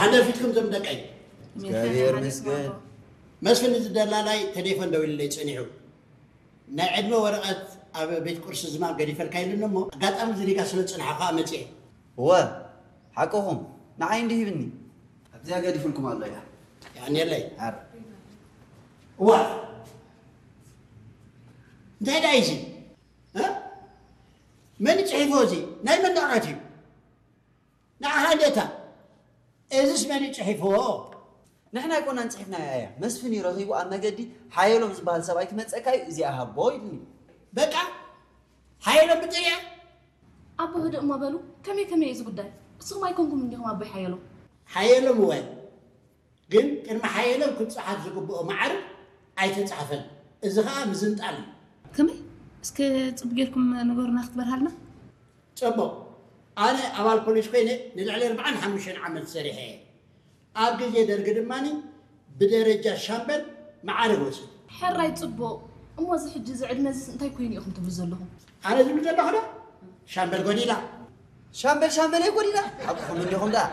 ኣለፊትኩም ዞም ደቀይ። እግዚኣብሔር ይመስገን። መስፍን፣ እዚ ደላላይ ተሌፎን ደዊሉለይ ጸኒሑ። ናይ ዕድመ ወረቐት ኣብ ቤት ቁርሲ ዝማም ገዲፈልካ ኢሉኒ እሞ፣ ኣጋጣሚ እዚ ሪጋ ስለ ዝጸንሐ ከኣ መጺኤ። እወ፣ ሓቅኹም፣ ንዓይ እንዲህ ይብኒ። ኣብዚኣ ገዲፉልኩም ኣሎ እያ። ያኔለይ። ኣር። እዋ፣ እንታይ ደኣ እዚ? እ? መን ጽሒፎ እዚ? ናይ መን ወረቐት እዩ? ንዓኻ እንዴታ? እዝስ መን እዩ ጽሒፍዎ? ንሕና ኣይኮናን ጽሒፍናያ እያ። መስፍን እዩ ረኺቡ ኣብ መገዲ ሓየሎም ዝበሃል ሰብኣይ ክመጸካ እዩ፣ እዚኣ ሃቦ ኢሉኒ። በቃ፣ ሓየሎም ብጥርያ? ኣቦ ህድእ እሞ በሉ፣ ከመይ ከመይ እዩ እዚ ጉዳይ? እስኹም ኣይኮንኩም እንዲኹም ኣቦይ ሓየሎም? ሓየሎም እወ፣ ግን ቅድሚ ሓየሎም ክጸሓፍ ዝግብኦ መዓርግ ኣይተጻሕፈን። እዚ ኸኣ ምዝንጣል እዩ። ከመይ? እስከ ጽቡቕ ጌርኩም ንገሩና ክትበርሃልና። ጽቡቕ። ኣነ ኣባል ፖሊስ ኮይነ ንልዕሊ ኣርብዓን ሓሙሽተን ዓመት ሰሪሐ እየ። ኣብ ግዜ ደርጊ ድማ ብደረጃ ሻምበል መዓርግ ወሲደ። ሕራይ ጽቡቕ። እሞ እዚ ሕጂ እዚ ዕድመ እዚስ እንታይ ኮይኑ ኢኹም ትብሉ ዘለኹም? ኣነ ዝብል ዘለኹ ዶ? ሻምበል ጎዲላ። ሻምበል ሻምበል እየ ጎዲላ። ሓቅኹም እንዲኹም ደኣ።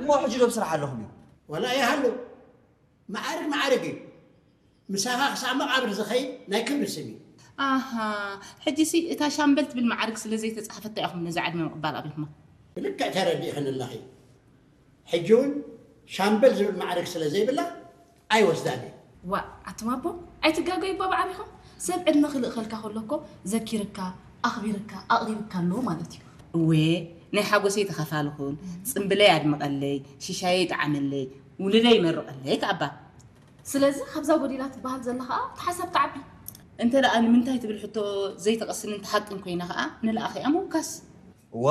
እሞ ሕጂ ዶ ብስራሕ ኣለኹም እዮም? ወላ ይሃሉ። መዓርግ መዓርግ እዩ። ምሳኻ ክሳብ መቓብር ዝኸይድ ናይ ክብሪ ስም እዩ። ኣሃ፣ ሕጂሲ እታ ሻምበል ትብል መዓርግ ስለ ዘይተጻሕፈታ ኢኹም ነዛ ዕድመ ምቕባል ኣቢልኩማ። ብልክዕ ተረዲእኽኒ ኣለኺ። ሕጂ እውን ሻምበል ዝብል መዓርግ ስለ ዘይብላ ኣይወስዳን እየ። ዋእ ኣቱም ኣቦ፣ ኣይትጋገዩ እባ ብዓቢኹም። ሰብ ዕድመ ክልእኸልካ ከሎ እኮ ዘኪርካ፣ ኣኽቢርካ፣ ኣቕሪብካ ኣሎ ማለት እዩ። እወ፣ ናይ ሓጎሰይ ተኻፋሊ ኩን፣ ጽምብለይ ኣድምቐለይ፣ ሽሻየይ ይጥዓመለይ፣ ውሉደይ ይመርቐለይ ከኣ እባ። ስለዚ ካብዛ ጎዲላ ትበሃል ዘላ ከኣ እቲ ሓሳብ ትዓቢ። እንተ ደኣ ንምንታይ ትብል ሕቶ ዘይተቐስንን ትሓቅን ኮይና ከኣ ንልኣኺኣ ምውካስ። እወ፣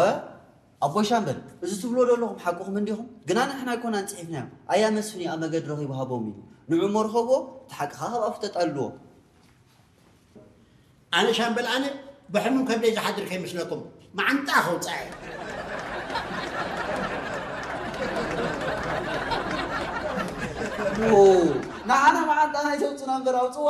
ኣቦይ ሻምበል፣ እዚ ትብልዎ ዘለኹም ሓቅኹም እንዲኹም፣ ግና ንሕና ኣይኮናን ጽሒፍናዮም። ኣያ መስፍን እዩ ኣብ መገዲ ረኺቡ ሃቦም ኢሉ። ንዑ እሞ ርኸብዎ፣ እቲ ሓቂ ከኣ ካብ ኣፉ ተጣልልዎ። ኣነ ሻምበል ኣነ ብሕሙም ከብደይ ዝሓድር ከይመስለኩም፣ መዓንጣ ከውጽኣ እየ። ኦ፣ ንዓና መዓንጣና ኣይተውጽና እምበር ኣውጽዋ።